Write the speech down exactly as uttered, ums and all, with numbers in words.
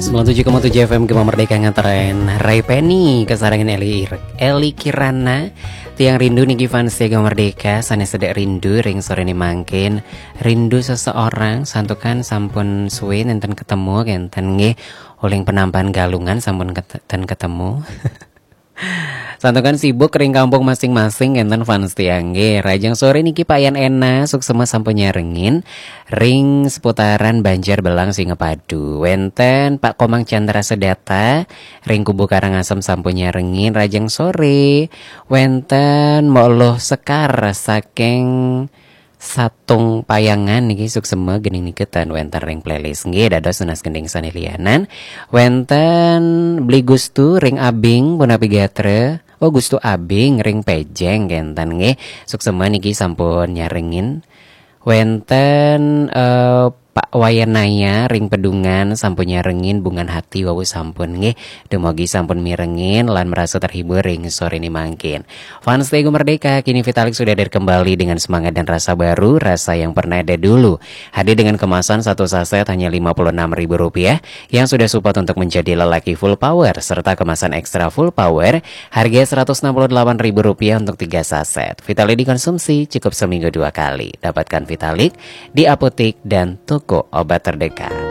Sembilan tujuh koma tujuh F M Gema Merdeka ngetren. Ray Penny, kesarangan Eli Ir-, Eli Kirana. Tiang rindu niki fans Gema Merdeka, sanes sedek rindu ring sore ni mangkin. Rindu seseorang, santukan sampun suwe nenten ketemu kenten nggih. Uling penampan Galungan sampun ket-, ten ketemu. Santukan sibuk ring kampung masing-masing kenten fans tiang nggih. Rajang sore niki Pak Yan Ena, suksema sampun nyarengin. Ring seputaran Banjar Belang Singapadu. Wenten Pak Komang Chandra Sedata, ring Kubu Karangasem sampun nyarengin rajang sore. Wenten Mok Loh Sekar saking Satung Payangan niki suksema gening niketan wenten ring playlist. Nggih, dados tunas gending sane lianan. Wenten Bli Gustu ring Abing, punapi gatra. Oh, Gustu Abing ring Pejeng kenten nggih. Suksema niki sampun nyarengin. Wenten, eh, Pak Wayanaya ring Pedungan sampun nyarengin Bungan Hati wau sampun nggih. Dumogi sampun mirengin lan merasa terhibur ring sore ni mangkin. Fans Gema Merdeka, kini Vitalik sudah hadir kembali dengan semangat dan rasa baru, rasa yang pernah ada dulu. Hadir dengan kemasan satu saset hanya lima puluh enam ribu rupiah yang sudah support untuk menjadi lelaki full power serta kemasan ekstra full power harga seratus enam puluh delapan ribu rupiah untuk tiga saset. Vitalik dikonsumsi cukup seminggu dua kali. Dapatkan Vitalik di apotek dan toko obat terdekat.